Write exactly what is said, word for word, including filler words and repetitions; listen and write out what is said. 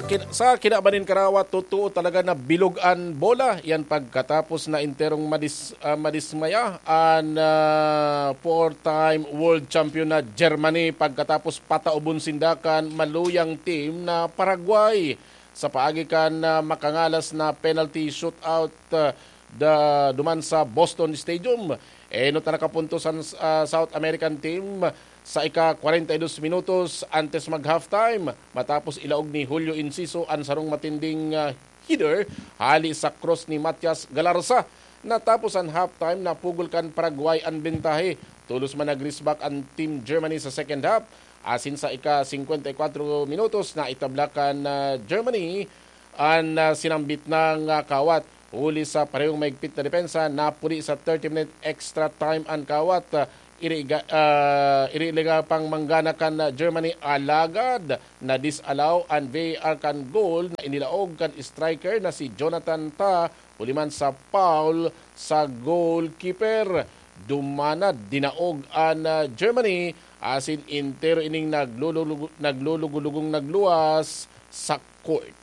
Kin- sa kinaban nin karawat, totoo talaga na bilog an bola. Yan pagkatapos na enterong madis, ah, madismaya an ah, four-time world champion na Germany pagkatapos pataubon sinda kan maluyang team na Paraguay sa paagi kan ah, makangalas na penalty shootout ah, da, duman sa Boston Stadium. Enot na nakapuntos an ah, South American team sa ika-kwarenta y dos minutos antes mag-halftime, matapos ilaog ni Julio Enciso an sarong matinding ah, header hali sa cross ni Matias Galarza. Natapos an halftime, napugol kan Paraguay an bentahe. Tolos man nag-race back an Team Germany sa second half, asin sa ika-singkwenta y kwatro minutos, naitabla kan ah, Germany an ah, sinambit na nga kawat. Huli sa parehong mahigpit na depensa, napuli sa thirty-minute extra time an kawat. Ah, iriga, ah, iriga pang manggana kan ah, Germany, alagad na-disallow an V A R kan goal na inilaog kan striker na si Jonathan Tah, huli man sa foul sa goalkeeper. Duman na dinaog an ah, Germany, asin entero ining naglulugu-, naglulugulugong nagluwas sa court.